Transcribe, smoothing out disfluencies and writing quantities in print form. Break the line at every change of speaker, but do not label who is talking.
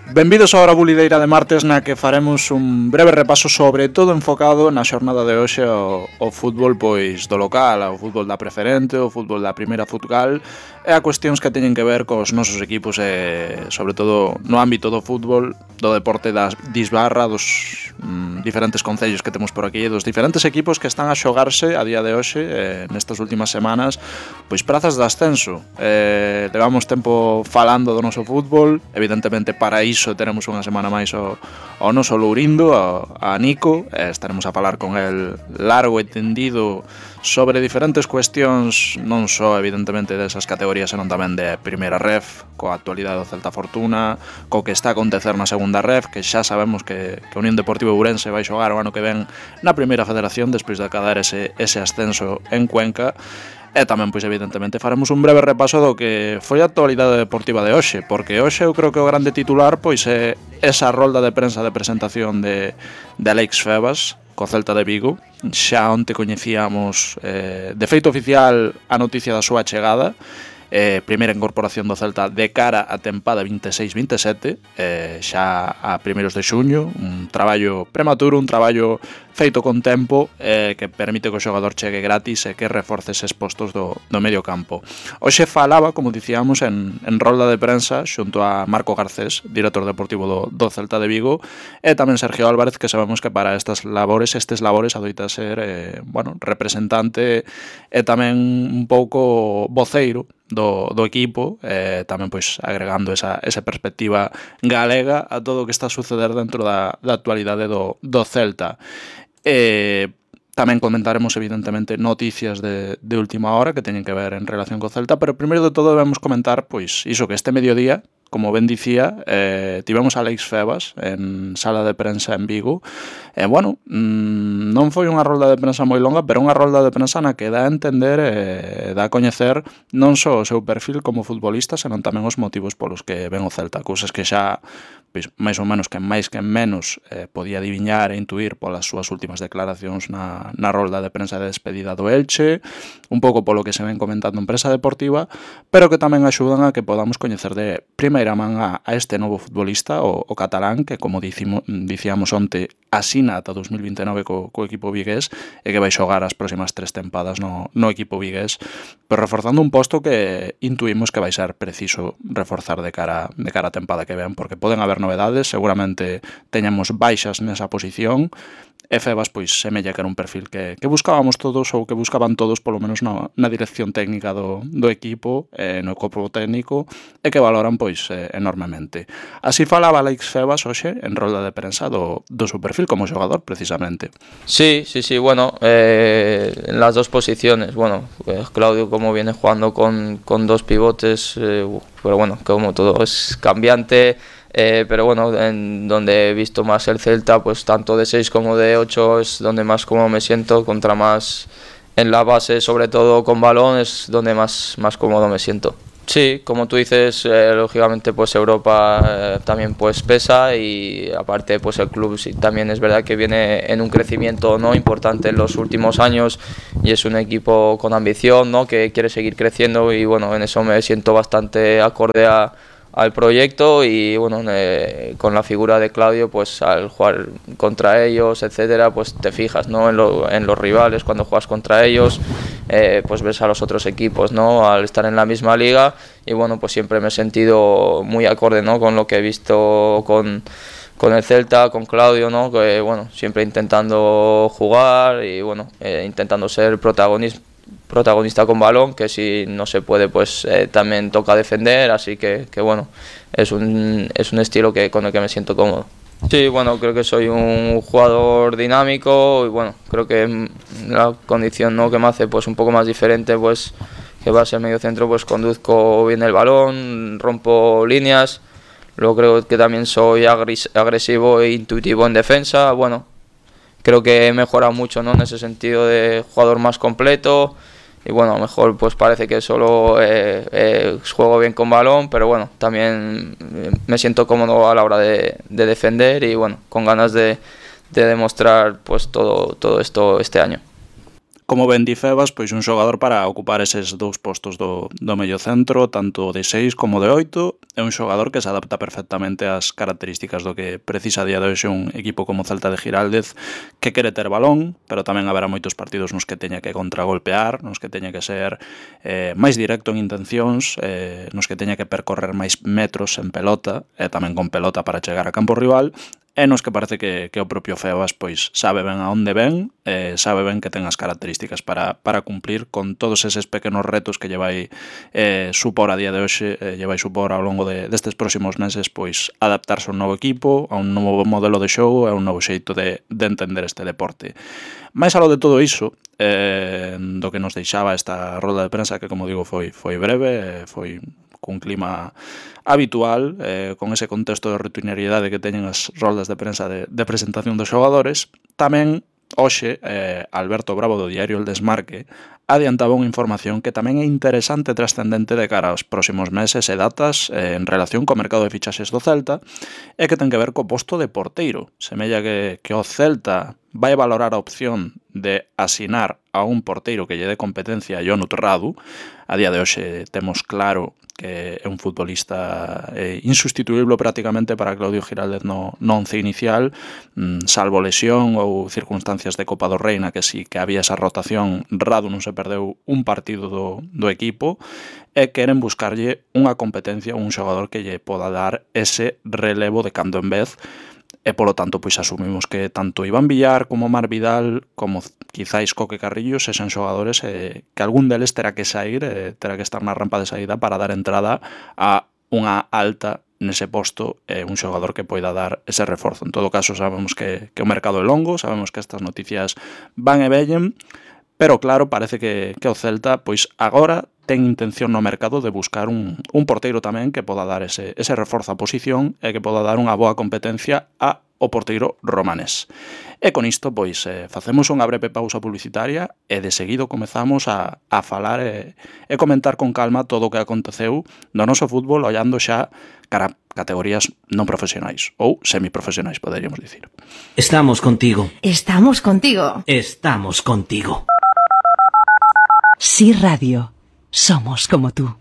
Benvidos á hora bulideira de martes na que faremos un breve repaso sobre todo enfocado na xornada de hoxe ao fútbol pois do local, ao fútbol da preferente, ao fútbol da primeira futgal e a cuestións que teñen que ver cos nosos equipos e sobre todo no ámbito do fútbol, do deporte da disbarra, dos diferentes concellos que temos por aquí e dos diferentes equipos que están a xogarse a día de hoxe nestas últimas semanas pois prazas de ascenso. Levamos tempo falando do noso fútbol, evidentemente para iso teremos unha semana máis ao noso Lourindo, a Nico, estaremos a falar con el largo e tendido sobre diferentes cuestións, non só evidentemente desas categorías, senón tamén de primeira ref, coa actualidade do Celta Fortuna, co que está a acontecer na segunda ref, que xa sabemos que Unión Deportivo Ourense vai xogar o ano que ven na primeira federación despois de acadar ese ascenso en Cuenca. E tamén, pois, evidentemente, faremos un breve repaso do que foi a actualidade deportiva de hoxe, porque hoxe eu creo que o grande titular pois é esa rolda de prensa de presentación de Alex Febas co Celta de Vigo. Xa onte coñecíamos de feito oficial a noticia da súa chegada, primeira incorporación do Celta de cara a tempada 26-27, xa a primeiros de xuño, un traballo prematuro, un traballo feito con tempo que permite que o xogador chegue gratis e que reforce eses postos do medio campo. Hoxe falaba, como dicíamos, en rolda de prensa xunto a Marco Garcés, director deportivo do Celta de Vigo, e tamén Sergio Álvarez, que sabemos que para estes labores adoita ser representante e tamén un pouco voceiro do equipo, tamén pois agregando esa perspectiva galega a todo o que está a suceder dentro da actualidade do Celta. Tamén comentaremos evidentemente noticias de última hora que teñen que ver en relación co Celta, pero primeiro de todo debemos comentar pois iso, que este mediodía, como ben dicía, tivemos a Alex Febas en sala de prensa en Vigo. Non foi unha rolda de prensa moi longa, pero unha rolda de prensa na que dá a entender dá a coñecer non só o seu perfil como futbolista, senón tamén os motivos polos que ven o Celta, cousas que xa pois, máis ou menos que máis que menos podía adiviñar e intuir polas súas últimas declaracións na rolda de prensa de despedida do Elche, un pouco polo que se ven comentando en prensa deportiva, pero que tamén axudan a que podamos coñecer de primeira man a este novo futbolista, o catalán, que como dicíamos onte, asina ata 2029 co equipo vigués e que vai xogar as próximas 3 tempadas no equipo vigués, pero reforzando un posto que intuimos que vai ser preciso reforzar de cara a tempada que ven, porque poden haber novedades, seguramente teñamos baixas nesa posición, e Febas pois semella que era un perfil que buscábamos todos, ou que buscaban todos, polo menos na dirección técnica do equipo, no corpo técnico, e que valoran pois enormemente. Así falaba Alex Febas hoxe en rolda de prensa do seu perfil como xogador, precisamente.
Sí, bueno, en las dos posiciones, bueno, Claudio como viene jugando con dos pivotes, pero bueno, como todo es cambiante. Pero bueno, en donde he visto más el Celta, pues tanto de 6 como de 8 es donde más cómodo me siento, contra más en la base, sobre todo con balón, es donde más cómodo me siento. Sí, como tú dices, lógicamente pues Europa también pues pesa, y aparte pues el club sí, también es verdad que viene en un crecimiento no importante en los últimos años, y es un equipo con ambición, ¿no?, que quiere seguir creciendo, y bueno, en eso me siento bastante acorde al proyecto, y bueno, con la figura de Claudio, pues al jugar contra ellos, etcétera, pues te fijas, ¿no?, en los rivales cuando juegas contra ellos, pues ves a los otros equipos, ¿no?, al estar en la misma liga, y bueno, pues siempre me he sentido muy acorde, ¿no?, con lo que he visto con el Celta, con Claudio, ¿no?, que bueno, siempre intentando jugar y bueno, intentando ser protagonista con balón, que si no se puede pues también toca defender, así que bueno, es un estilo con el que me siento cómodo. Sí, bueno, creo que soy un jugador dinámico, y bueno, creo que la condición, ¿no?, que me hace pues un poco más diferente, pues que va a ser medio centro, pues conduzco bien el balón, rompo líneas, luego creo que también soy agresivo e intuitivo en defensa. Bueno, creo que he mejorado mucho, ¿no?, en ese sentido de jugador más completo, y bueno, a lo mejor pues parece que solo juego bien con balón, pero bueno, también me siento cómodo a la hora de defender, y bueno, con ganas de demostrar pues todo esto este año.
como ben di Febas, pois un xogador para ocupar eses dous postos do medio centro, tanto de 6 como de 8, é un xogador que se adapta perfectamente ás características do que precisa a día de hoxe un equipo como Celta de Giraldez, que quere ter balón, pero tamén haberá moitos partidos nos que teña que contragolpear, nos que teña que ser máis directo en intencións, nos que teña que percorrer máis metros en pelota, e tamén con pelota para chegar a campo rival, e nos que parece que o propio Febas pois sabe ben a onde ven, sabe ben que ten as características para cumplir con todos eses pequenos retos que lle vai supor a día de hoxe, lle vai supor ao longo destes próximos meses, pois adaptarse a un novo equipo, a un novo modelo de xogo, a un novo xeito de entender este deporte. Mais aló de todo iso, do que nos deixaba esta rolda de prensa, que como digo foi breve, foi cun clima habitual, con ese contexto de rutinariedade que teñen as roldas de prensa de presentación dos xogadores, tamén hoxe Alberto Bravo do diario El Desmarque adiantaba unha información que tamén é interesante e trascendente de cara aos próximos meses e datas en relación co mercado de fichaxes do Celta, e que ten que ver co posto de porteiro. Semella que o Celta vai valorar a opción de asinar a un porteiro que lle dé competencia a Jonut Radu. A día de hoxe temos claro que é un futbolista insustituible prácticamente para Claudio Giraldez no once inicial, salvo lesión ou circunstancias de Copa do Rei na que sí que había esa rotación. Radu non se perdeu un partido do equipo, e queren buscarlle unha competencia, un xogador que lle poda dar ese relevo de cando en vez, e polo tanto pois asumimos que tanto Iván Villar como Mar Vidal como quizáis Coque Carrillo sexan xogadores que algún deles terá que sair, terá que estar na rampa de saída para dar entrada a unha alta nese posto, un xogador que poida dar ese reforzo. En todo caso, sabemos que o mercado é longo, sabemos que estas noticias van e vellen, pero claro, parece que o Celta pois agora ten intención no mercado de buscar un porteiro tamén que poda dar ese reforzo a posición e que poda dar unha boa competencia ao porteiro romanés. E con isto, pois, facemos unha breve pausa publicitaria e de seguido comezamos a falar e comentar con calma todo o que aconteceu no noso fútbol, ollando xa cara a categorías non profesionais ou semiprofesionais, poderíamos dicir.
Estamos contigo.
Estamos contigo.
Estamos contigo.
Sí Radio. Somos como tú.